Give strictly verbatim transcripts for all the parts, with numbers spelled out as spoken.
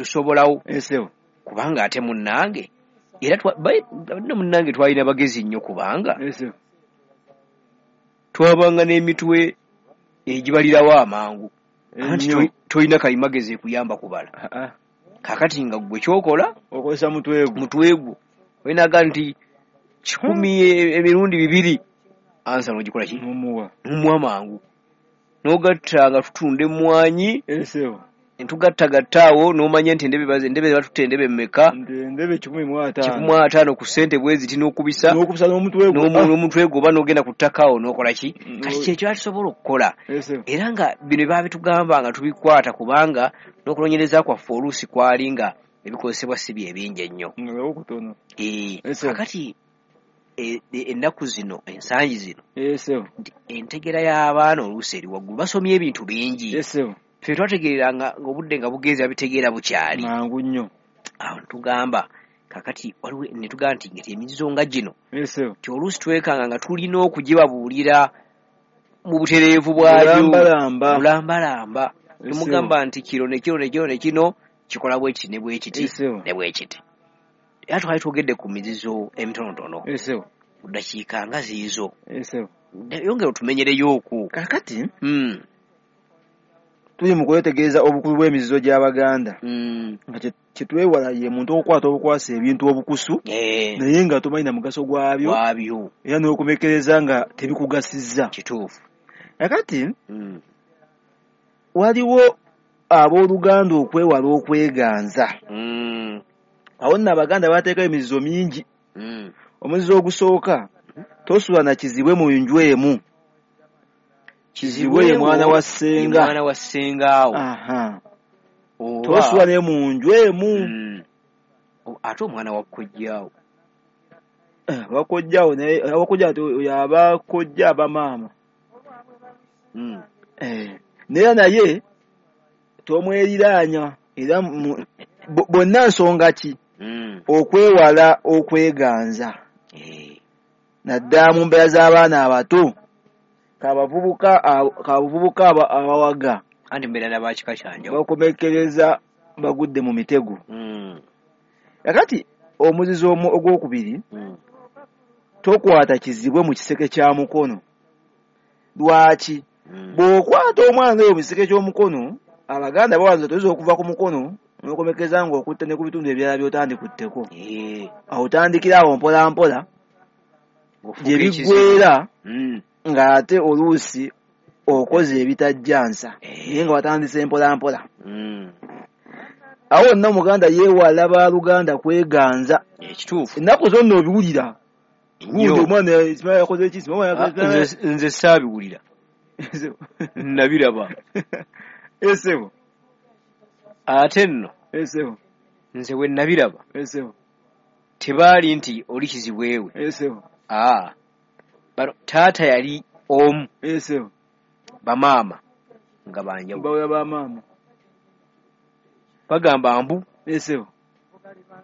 Kyetusobolawo. Esebo. Kubanga ate munnange era nno munnange twalina bagezi nnyo, kubanga Esebo. twabanga n'emitwe egibalirawo amangu, anti tolina kalimagezi ekuyamba kubala. Kakati nga ggwe kyokola okozesa mutwe gwo, mutwe gwo olinaga nti kikumi emirundi bibiri, ansa n'ogikola ki? N'omuwa. N'omuwa mangu. N'ogatta nga tutunda emmwanyi. Esebo. Ntugattagatta awo n'omanya nti endebe endebe batutte endebe mmeka? Endebe kikumi mu ataano. Kikumi mu ataano ku ssente bwe ziti n'okubisa. N'okubisa n'omutwe gwo. N'omutwe gwo oba n'ogenda ku ttaka awo n'okola ki? Kati kyekyo tusobola okukola. Era nga bino baabitugamba nga tubikwata, kubanga n'okunoonyereza kwaffe oluusi kwali nga ebikozesebwa si bye bingi ennyo. Okutono. Kakati ennaku zino, ensangi zino, nti entegera y'abaana oluusi eri waggulu, basomye ebintu bingi. Ffe twategeeranga ng'obudde nga bugenze babitegeera bukyali. Mangu nnyo. Awo tugamba kakati waliwo ne tugamba nti ngeti emizizo nga gino nti oluusi twekanga nga tulina okugibabuulira mu butereevu bwabyo. Bulambalamba. Bulambalamba. Tumugamba nti kiro ne kiro ne kiro ne kino kikola bwe kiti ne bwe kiti ne bwe kiti. Era twali twogedde ku mizizo emitonotono. Ku ddakiika nga ziizo. Yongera otumenyereyo okwo. Kakati tuli mu kwetegereza obukulu bw'emizizo gy'Abaganda. Nga kye twewala ye muntu okukwata obukwasa ebintu obukusu, naye nga tomanyi na mugaso gwabyo, era n'okumekereza nga tebikugasizza. Kituufu. Kakati waliwo abooluganda okwewala okweganza. Awo nno Abaganda bateekayo emizizo mingi. Omuzizo ogusooka, tosula na kizibwe mu nju emu. Kizibwe ye mwana wa ssenga. Mwana wa ssenga awo. Tosula ne mu nju emu. Ate omwana wa kojjaawo. Wakojjaawo naye wakojjaawo yaba kojja aba maama. Naye naye tomweriraanya, era bonna nsonga ki? Okwewala okweganza. Naddala mu mbeera z'abaana abato. Kabavubuka kabavubuka abawaga. Anti mbeera n'abakika kyanjawulo. Bakomekereza bagudde mu mitego. Kakati omuzizo ogwokubiri, tokwata kizibwe mu kiseke kya mukono. Lwaki? Bw'okwata omwana oyo mu kiseke ky'omukono, Abaganda bawanza toyinza okuva ku mukono n'okomekeza ng'okutte ne ku bitundu ebirala by'otandikutteko. Awo otandikira awo mpola mpola gye biggweera ng'ate oluusi okoze ebitajjansa, naye nga watandise mpola mpola. Awo nno Omuganda yeewala baaluganda kweganza. Ekituufu. Ennaku zonna obiwulira. Gundi omwana yakoze ki? Nze saabiwulira. Nabiraba. Esebo. Ate nno. Esebo. Nze we nabiraba. Esebo. Tebaali nti oli kizibwewe. Esebo. Ah. Bano taata yali omu. Esebo. Bamaama nga banjawulo. Bawula bamaama. Bagamba mbu. Esebo.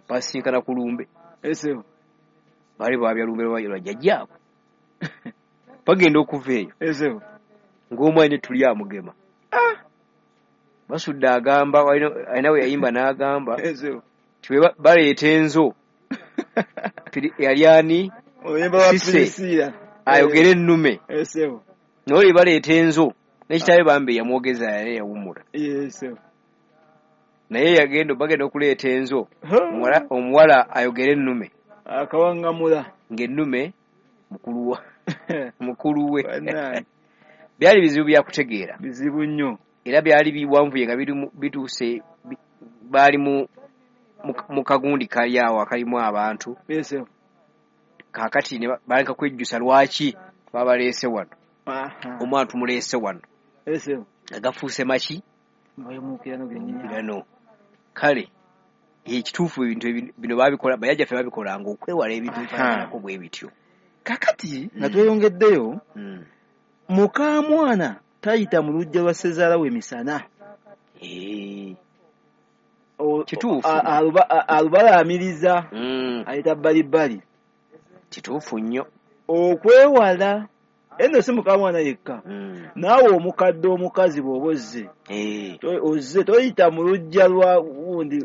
Basinkana ku lumbe. Esebo. Baali baabya lumbe lwa jjajjaabwe. Bagenda okuva eyo. Esebo. Ng'omwana tuli amugema. Ah. Basudde agamba alina we yayimba n'agamba Esebo. Nti bwe baleeta enzo yali ani Sise ayogere ennume. Esebo. N'oli baleeta enzo n'ekitaawe bambe yamwogeza yali yawummula. Esebo. Naye yagenda bagenda okuleeta enzo omuwala ayogere ennume. Akawangamula. Ng'ennume mukulu wa mukulu we. Byali bizibu bya kutegeera. Bizibu nnyo. Era byali biwanvuye nga bituuse baali mu mu kagundi kali awo akalimu abantu. Esebo. Kaakati ne baleka kwejjusa lwaki babaleese wano. Omwana tumuleese wano. Esebo. Nga gafuuse maki? Mawemuukirano gennyini. Kirano. Kale ekituufu ebintu bino babikola bajjajjaffe babikolanga okwewala ebintu bifaananako bwe bityo. Kakati nga tweyongeddeyo, mukaamwana tayita mu luggya lwa ssezaala we misana. Kituufu. Alubalaamiriza ayita bbalibbali. Kituufu nnyo. Okwewala eno si mukaamwana yekka, naawe omukadde omukazi bw'oba ozze ozze toyita mu luggya lwa gundi